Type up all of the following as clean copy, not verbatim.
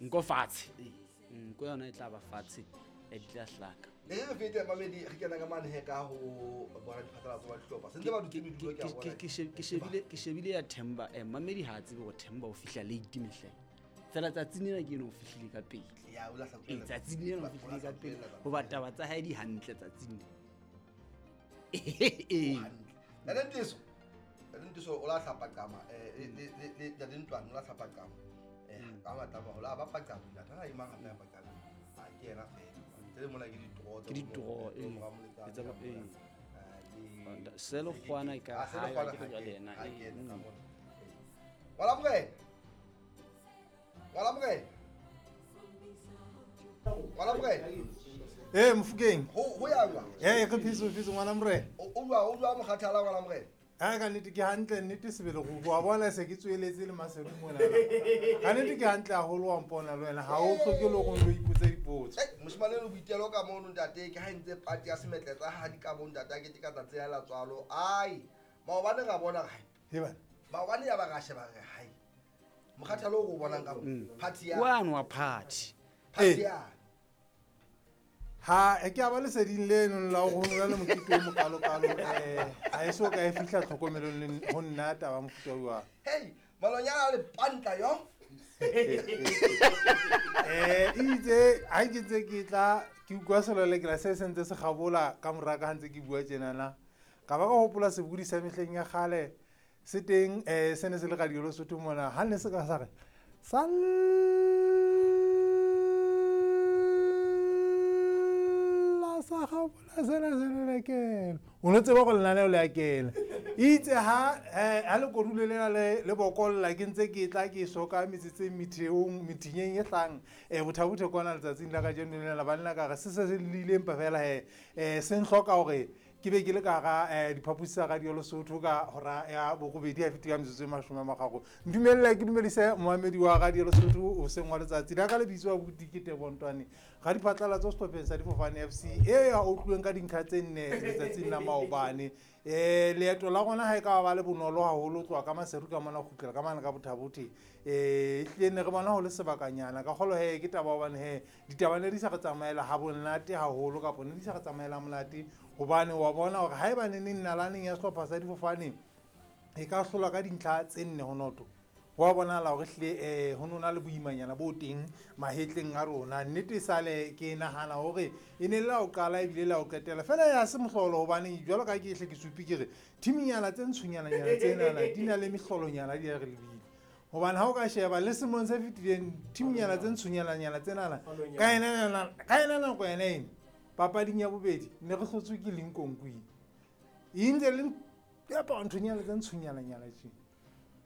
Nko fatshe. Nko yona e tla ba fatshe, di tla hlaka. E re fete mamedi re kena ka mane he ka ho bona diphatlalatso ba dihlopha. Se ntse ba dutse medulo ke a bona. Ke shebile ya Themba, mamedi ha a tsebe hore Themba o fihla late mehleng. Fela tsatsing lena ke eno o fihlile ka pele. Ya, o la sa Ee, tsatsing lena o fihlile ka pele. Hoba taba tsa hae di hantle tsatsing lena. Ee. Ntate Nteso. Ntate Nteso o la hlapa qama, le Ntate Ntwane o la hlapa qama. Ka matla ba hola ba paqama, ntate ha e mang hape ya paqama. Ha ke yena fela. Ntle le mona ke ditoro tsa Ke ditoro, bo ee. mora Moletsane, Tsa bo, ka ee. mona. Le Selo kgwana e ka Ah, Selo ha kgwana ke ha jwale ke- yena, ha ee, ke ena ka mona. Ee. Ngwana Morena. Ngwana Morena. Ngwana Morena. Ee, Mofokeng. Ho ya jwang? Ee, re phetse, phetse, ngwana Morena. O jwang mokgathala, ngwana Morena? Ha ka nnete ke hantle, nnete sebele go bua bona se ke tsweletse le Maseru mona. Ka nnete ke hantle haholo wa mpona le wena, ha o hloke le hore o ipotse dipotso. Ei, moshemane le boitelo ka mono ntate, ke ha ntse party ya semetletse ha di ka bo ntate a kete ka tsatsi la tswalo. Ai, maobane ra bona re hai. He bana. Maobane ya ba ra sheba re hai. Mokgathalo o re o bonang ka mo, party ya. Kwano wa party. Party Ee. ya. Ha, e ke a ba leseding leno la ho nna le mokete o mokalokalo, ha e so ka e fihla tlhokomelong le ho nna taba mofuta o jwang. Hey, malonyana a le pantla yo. Itse, ha ke ntse ke tla, ke utlwa selelekela se se ntse se kgabola ka mora ka ha ntse ke bua tjenana. Ka ba ka hopola sebodi sa mehleng ya kgale se teng, se ne se le Radio Lesotho mona, ha ne se ka sa re, salla sa kgabola sena selelekela. O no tseba hore lenaneo le a kena. Itse ha lekodulo lena le bokolla, ke ntse ke tla ke soka metsotso e metheong, methinyeng e hlang, Botha-Bothe kwana letsatsing la kajeno lena la banna ka re se se se lile empa fela he, se ntlhoka hore ke be ke le ka hara, diphaposi tsa Radio Lesotho ka hora ya borobedi ha fetile ka metsotso e mashome a mararo. Ntumelle ke dumedise moamedi wa Radio Lesotho hoseng wa letsatsi la ka lebitso wa Buti ke Tebo Ntwane, radiphatlalatso sehlopheng sa Difofane FC e ya utlweng ka dintlha tse nne letsatsing la maobane. Leeto la rona ha e ka ba le bonolo haholo, tloha ka Maseru ka mona ho kgutlela ka mane ka Botha-Bothe. Ehlile ne re bona ho le sebakanyana ka kgolo he ke taba hobane he ditaba ne di sa re tsamaela ha monate haholo, kapa ne di sa re tsamaela monate, hobane wa bona hore haeba ne neng nalaneng ya sehlopha sa Difofane e ka hlolwa ka dintlha tse nne ho noto, ho a bonahala hore ehlile, ho no na le boimanyana bo teng mahetleng a rona. Nnete sale ke nahana hore e ne le la ho qala ebile la ho qetela fela, ya se mohlolo, hobane jwalo ka ke hle ke supi ke re thiminyana tse ntshonyananyana tsenana di na le mehlolonyana di a re lebile. Hobane ha o ka sheba le selemong se fetileng, thiminyana tse ntshonyananyana tsenana, ka ena nako yona ena, papading ya bobedi ne re hlotswe ke Lincoln Queen. E ntse le diaparo nthonyana tse ntshonyananyana tje.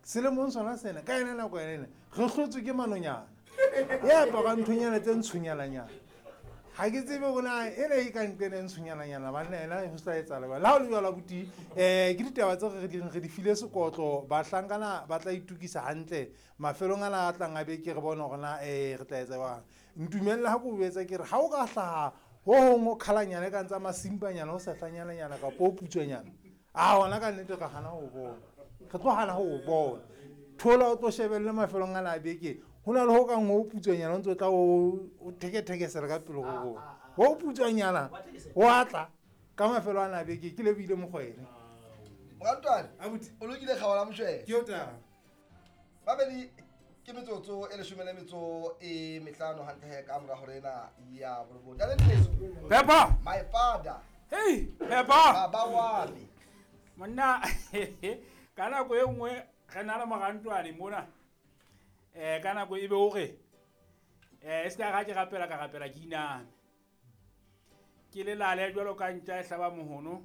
Selemong sona sena, ka ena nako yona ena, re hlotswe ke manonyana. Ya apara nthonyana tse ntshonyananyana. Ha ke tsebe hore na ena e ka nqena e ntshonyananyana, banna ena ho sa etsahala jwang. Le ha ho le jwalo, abuti, ke ditaba tse re di reng re di file sekotlo, bahlankana ba tla itokisa hantle mafelong ana a tlang a beke, re bone hore na, re tla etsa jwang. Ntumelle ha ke o jwetsa ke re, ha o ka hlaha ho hong ho khalanyana e kang tsa masimpanyana, ho sehlanyananyana kapa ho putswanyana, a hona ka nnete re hana ho bona. Re tlo hana ho bona. Thola o tlo shebelle mafelong ana a beke, ho na le ho kang ho putswanyana, o ntso tla o thekethekesela ka pele ho rona. Ho putswanyana, ho a tla ka mafelo ana a beke, ke lebohile Mokwena. Morantwane, Abuti. o lokile kgaola moshwele. Ke o taba. Babedi ke metsotso e leshome le metso e mehlano hantle he ka mora hore ena ya borobong. Ntate Nteso. Peppa. My father. Hey, Peppa. Baba wa me. Monna, ka nako e nngwe re na le morantwane mona. Ka nako e be o re, e se ka ra ke rapela, ka rapela ke iname. Ke lelale jwalo ka ntja e hlaba mohono.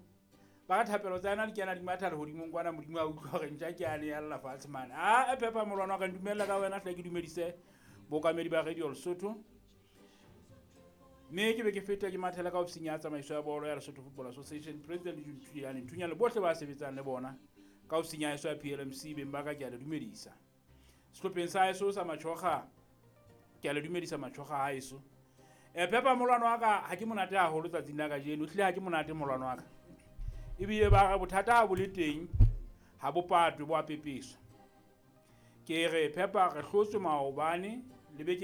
Ba re thapelo tsa yona di kena di matha lehodimong kwana, Modimo a utlwa hore ntja ke yane ya lla fatshe mane. Ah, e Peppa molwana wa ka, ntumella ka wena hle ke dumedise bookamedi ba Radio Lesotho. Mme ke be ke feta ke mathela ka ofising ya tsamaiso ya bolo ya Lesotho Football Association, President Nthunyane, Nthunyane le bohle ba sebetsang le bona ka ofising ya heso ya PLMC, beng ba ka ke a le dumedisa. Sehlopheng sa heso sa Matjhoga, ke a le dumedisa Matjhoga ha heso. Peppa molwana wa ka ha ke monate haholo tsatsing la kajeno, ehlile ha ke monate molwana wa ka. Ebile ba re bothata ha bo le teng, ha bo patwe, bo a pepeswa. Ke re Peppa re hlotswe maobane le beke